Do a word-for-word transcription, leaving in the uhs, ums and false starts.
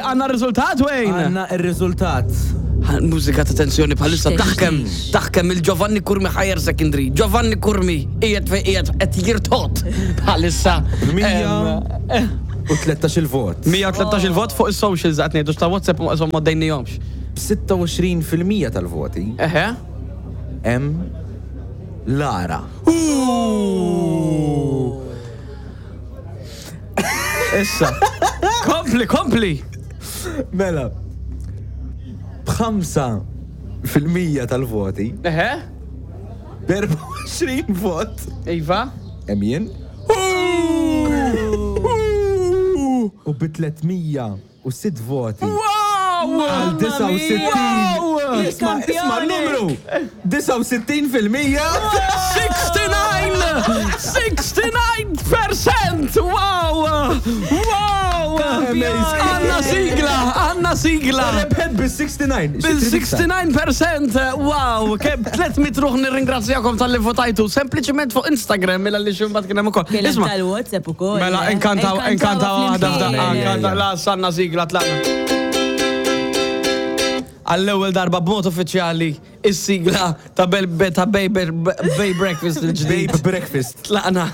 Għandna riżultat, Wayne. Għandna il-riżultat. Mużika ta' tensjoni bħalissa Xtieq, taħkem, xtieq. Taħkem il-Giovanni Curmi Higher Secondary. Giovanni Curmi qiegħed fejn qiegħed qed jirtot bħalissa. Mija Em, u tlettax il-vot. mija u tlettax il-vot fuq is-socials qed ngħidu, ta' WhatsApp ma dejnihomx. B'sitta u għoxrin fil-mija tal-voti Eħe. hemm Lara. Issa. Kompli, kompli. Mela. B'ħamsa fil-mija tal-voti, Eħe. b'erbgħa u għoxrin vot, Iva. hemm jien. U bi tliet mija u sitt voti. Wow! Għal disgħa u sittin. Wow! Isma, isma n-numru! disgħa u sittin fil-mija. sixty-nine! sixty-nine percent! Wow! Wow! Amazing. Għandna sigla! Għandna sigla! Rebħet bil-sixty-nine. Bil-sixty-nine percent! Wow! Kemm tliet mitt ruħ, nirringrazzjakom talli votajtu. Sempliċiment fuq Instagram, mela li ximbat kien hemm ukoll. Kien hemm Isma' tal-WhatsApp ukoll. Mela, eh. inkantaw, inkantaw waħda f'daqqa, flimkien. inkantaw, la, sanna sigla, tlaqna. Għall-ewwel darba b'mod uffiċjali, is-sigla ta' Bel ta' Babe Babe Breakfast il-ġdid. Babe Breakfast. Tlaqna.